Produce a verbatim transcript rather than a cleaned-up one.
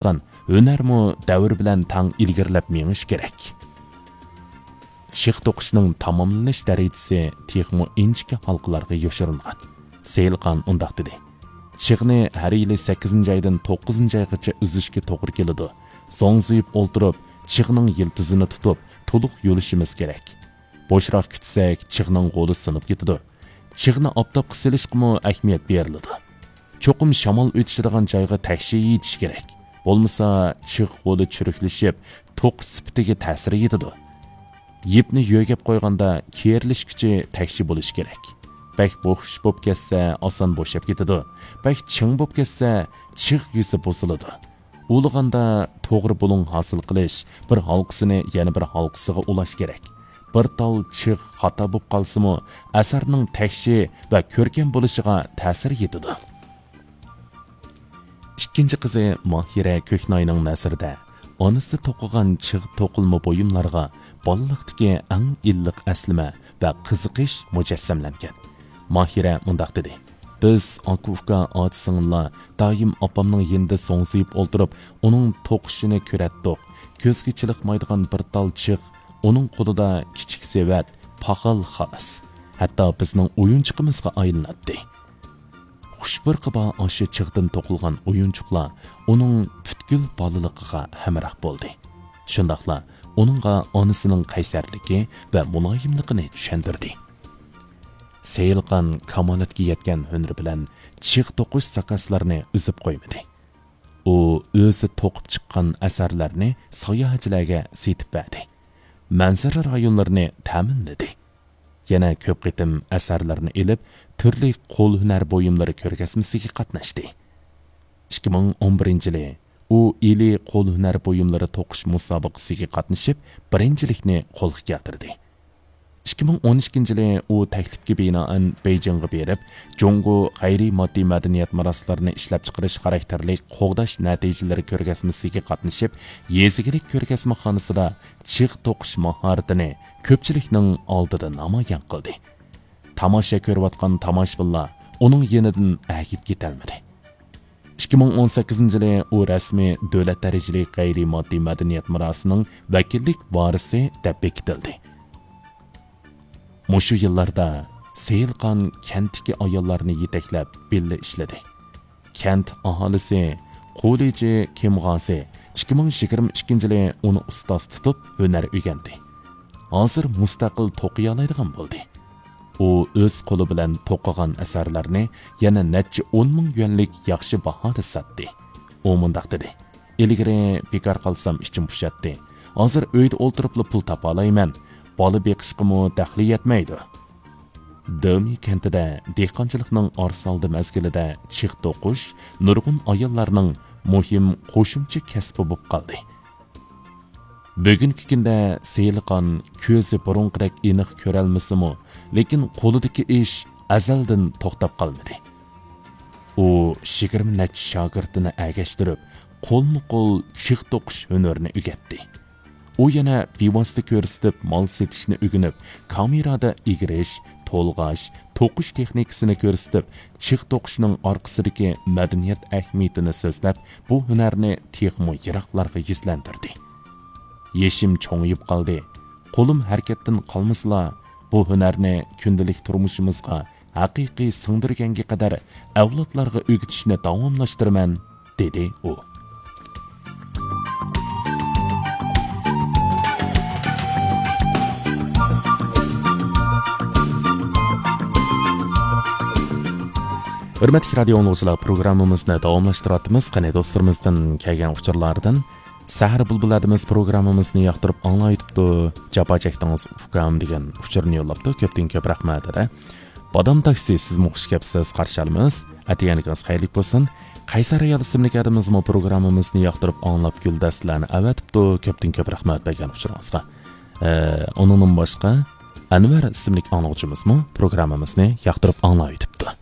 قىلغان ھۈنەرمۇ دەۋر بىلەن تەڭ ئىلگىرىلەپ مېڭىشى كېرەك. چىغ توقۇشنىڭ تاماملىنىش دەرىجىسى تېخىمۇ ئىنچىكە ھالقىلارغا يوشۇرۇنغان. سېيىلخان ئۇنداق دېدى: «چىغنى ھەر يىلى سەككىزىنچى ئايدىن توققۇزىنچى ئايغىچە ئۈزۈشكە توغرا كېلىدۇ. زوڭزىيىپ ئولتۇرۇپ، چىغنىڭ يىلتىزىنى تۇتۇپ، تولۇق يۇلۇشىمىز كېرەك. بوشراق كۈتسەك، چىغنىڭ غولى سۇنۇپ كېتىدۇ. چىغنى ئاپتاپقا سېلىشقىمۇ ئەھمىيەت بېرىلىدۇ. چوقۇم شامال ئۆتۈشىدىغان جايغا تەكشى يېيىش كېرەك. بولمىسا، چىغ غولى چۈرۈكلىشىپ، توقۇش سۈپىتىگە تەسىر يېتىدۇ. يىپنى يۆگەپ قويغاندا كېرىلىش كۈچى تەكشى بولۇشى كېرەك. بەك بوخۇش بولۇپ كەتسە، ئاسان بوشاپ كېتىدۇ. بەك چىڭ بولۇپ كەتسە، چىغ يۈزى بۇزۇلىدۇ. ئۇلىغاندا توغرا بۇلۇڭ ھاسىل قىلىش، بىر ھالقىسىنى يەنە بىر ھالقىسىغا ئۇلاش كېرەك. بىر تال چىغ خاتا بولۇپ قالسىمۇ، ئەسەرنىڭ تەكشى ۋە كۆركەم بولۇشىغا تەسىر يېتىدۇ.» ئىككىنچى قىزى ماھىرە كۆكناينىڭ نەزىرىدە ئانىسى توقۇغان چىغ توقۇلما بۇيۇملارغا بالىلىقتىكى ئەڭ ئىللىق ئەسلىمە ۋە قىزىقىش مۇجەسسەملەنگەن. ماھىرە مۇنداق دېدى: «بىز ئاكا-ئۇكا، ئاچا-سىڭىللار دائىم ئاپامنىڭ يېنىدا زوڭزىيىپ ئولتۇرۇپ، ئۇنىڭ توقۇشىنى كۆرەتتۇق. كۆزگە چېلىقمايدىغان بىر تال چىغ ئۇنىڭ قولىدا كىچىك سېۋەت، پاخال خالاس. ھەتتا بىزنىڭ ئويۇنچۇقىمىزغا ئايلىناتتى.» خۇش پۇرىقى بار ئاشۇ چىغدىن توقۇلغان ئويۇنچۇقلار ئۇنىڭ پۈتكۈل بالىلىقىغا ھەمراھ بولدى. شۇنداقلا ئۇنىڭغا ئانىسىنىڭ قەيسەرلىكى ۋە مۇلايىملىقىنى چۈشەندۈردى. سېيىلخان كامالەتكە يەتكەن ھۈنىرى بىلەن چىغ توقۇش زاكازلىرىنى ئۈزۈپ قويمىدى. ئۇ ئۆزى توقۇپ چىققان ئەسەرلەرنى ساياھەتچىلەرگە سېتىپ بەردى. مەنزىرە رايونلىرىنى تەمىنلىدى. يەنە كۆپ قېتىم ئەسەرلىرىنى ئېلىپ، تۈرلۈك قول ھۈنەر بۇيۇملىرى كۆرگەزمىسىگە قاتناشتى. ئىككى مىڭ ئون بىرىنچى يىلى ئۇ ئىلى قول ھۈنەر بۇيۇملىرى توقۇش مۇسابىقىسىگە قاتنىشىپ، بىرىنچىلىكنى قولغا كەلتۈردى. ئىككى مىڭ ئون ئىككىنچى يىلى ئۇ تەكلىپكە بىنائەن بېيجىڭغا بېرىپ، جۇڭگو غەيرىي ماددىي مەدەنىيەت مىراسلىرىنى ئىشلەپچىقىرىش خاراكتېرلىك قوغداش نەتىجىلىرى كۆرگەزمىسىگە قاتنىشىپ، يېزا ئىگىلىك كۆرگەزمىخانىسىدا چىغ توقۇش ماھارىتىنى كۆپچىلىكنىڭ ئالدىدا نامايان قىلدى. تاماشا كۆرۈۋاتقان تاماشىبىنلار ئۇنىڭ يېنىدىن ئەگىپ كېتەلمىدى. ئىككى مىڭ ئون سەككىزىنچى يىلى ئۇ رەسمىي دۆلەت دەرىجىلىك غەيرىي ماددىي مەدەنىيەت مىراسىنىڭ ۋەكىللىك ۋارىسى دەپ بېكىتىلدى. مۇشۇ يىللاردا سېيىلخان كەنتتىكى ئاياللارنى يېتەكلەپ، بىللە ئىشلىدى. كەنت ئاھالىسى قۇلىجى كىمغازى ئىككى مىڭ يىگىرمە ئىككىنچى يىلى ئۇنى ئۇستاز تۇتۇپ، ھۈنەر ئۆگەندى. ھازىر مۇستەقىل توقۇيالايدىغان بولدى. ئۇ ئۆز قولى بىلەن توقۇغان ئەسەرلەرنى يەنە نەچچە ئون مىڭ يۈەنلىك ياخشى باھادا ساتتى. ئۇ مۇنداق دېدى: «ئىلگىرى بىكار قالسام ئىچىم پۇشاتتى. ھازىر ئۆيدە ئولتۇرۇپلا پۇل تاپالايمەن. بالا بېقىشقىمۇ دەخلى يەتمەيدۇ.» دېمى كەنتىدە دېھقانچىلىقنىڭ ئارىسالدى مەزگىلىدە چىغ توقۇش نۇرغۇن ئاياللارنىڭ مۇھىم قوشۇمچە كەسپى بولۇپ قالدى. بۈگۈنكى كۈندە سېيىلخان كۆزى بۇرۇنقىدەك ئېنىق كۆرەلمىسىمۇ، لېكىن قولىدىكى ئىش ئەزەلدىن توختاپ قالمىدى. ئۇ يىگىرمە نەچچە شاگىرتىنى ئەگەشتۈرۈپ، قولمۇ قول چىغ توقۇش ھۈنىرىنى ئۆگەتتى. ئۇ يەنە بىۋاسىتە كۆرسىتىپ مال سېتىشنى ئۆگىنىپ، كامېرادا ئېگىرىش، تولغاش، توقۇش تېخنىكىسىنى كۆرسىتىپ، چىغ توقۇشنىڭ ئارقىسىدىكى مەدەنىيەت ئەھمىيىتىنى سۆزلەپ، بۇ ھۈنەرنى تېخىمۇ يىراقلارغا يۈزلەندۈردى. يېشىم چوڭىيىپ قالدى. قولۇم ھەرىكەتتىن قالمىسىلا، بۇ ھۈنەرنى كۈندىلىك تۇرمۇشىمىزغا ھەقىقىي سىڭدۈرگەنگە قەدەر ئەۋلادلارغا ئۆگىتىشنى داۋاملاشتۇرىمەن، دېدى ئۇ. ھۆرمەتلىك رادىيو ئاڭلىغۇچىلار، پروگراممىمىزنى داۋاملاشتۇرۇۋاتىمىز. قېنى، دوستلىرىمىزدىن كەلگەن ئۇچۇرلاردىن. سەھەر بۇلبۇللىرىمىز پروگراممىمىزنى ياقتۇرۇپ ئاڭلاۋېتىپتۇ. جاپا چەكتىڭىز ئۇكام دېگەن ئۇچۇرنى يوللاپتۇ. كۆپتىن كۆپ رەھمەت، دەدە. بادام تاكسى، سىزمۇ خۇش كەپسىز، قارشى ئالىمىز. ئەتىگەنلىكىڭىز خەيرلىك بولسۇن. قەيسەر ئايال ئىسىملىك ئادىمىمىزمۇ پروگراممىمىزنى ياقتۇرۇپ ئاڭلاپ گۈلدەستىلەرنى ئەۋەتىپتۇ. كۆپتىن كۆپ رەھمەت بەرگەن ئۇچۇرىڭىزغا. ئە، ئۇنىڭدىن باشقا، ئەنۋەر ئىسىملىك ئاڭلىغۇچىمىزمۇ پروگراممىمىزنى ياقتۇرۇپ ئاڭلاۋېتىپتۇ.